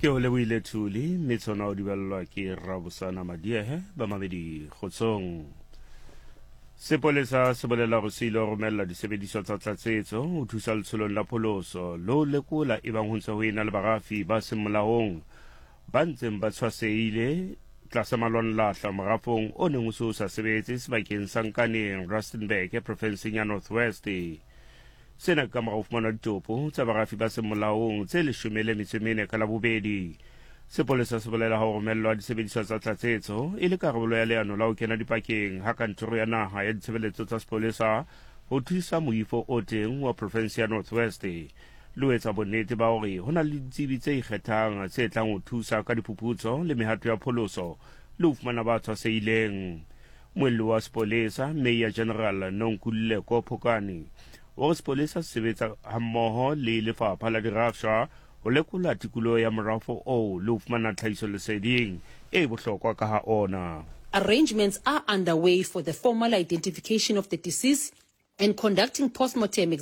Ke o lebohile Thuli, mme tshona o di balelwa ke Rabosana Madiehe. Bamamedi kgotsong. Sepolesa se bolela hore se ile romella disebediswa tsa tlatsetso ho thusa letsholong la pholoso le ho lekola ebang ho ntse ho ena le barafi ba seng molaong ba ntseng ba tshwasehile tlasa malwanlahla morafong o neng o se o sa sebetse sebakeng sa Nkaneng, Rustenburg, profenseng ya North West. Sena ke ka mora ho fumanwa ditopo tsa barafi ba seng molaong tse 14 ka Labobedi. Sepolesa se bolela ha ho romellwa disebediswa tsa tlatsetso e le karolo ya leano la ho kena dipakeng ha kantoro ya naha ya ditshebeletso tsa sepolesa ho thusa moifo o teng wa profense ya North West le ho etsa bonnete ba hore ho na le ditsebi tse ikgethang tse tlang ho thusa ka diphuputso le mehato ya pholoso le ho fumana ba tshwasehileng. Muelli wa sepolesa, Mayor General Nonkululeko Phokane, o re sepolesa se sebetsa hammoho le lefapha la dirafshwa ho lekola tikoloho ya morafo oo le ho fumana tlhahisoleseding e bohlokwa ka ha ona. Arrangements are underway for the formal identification of the deceased and conducting postmortem.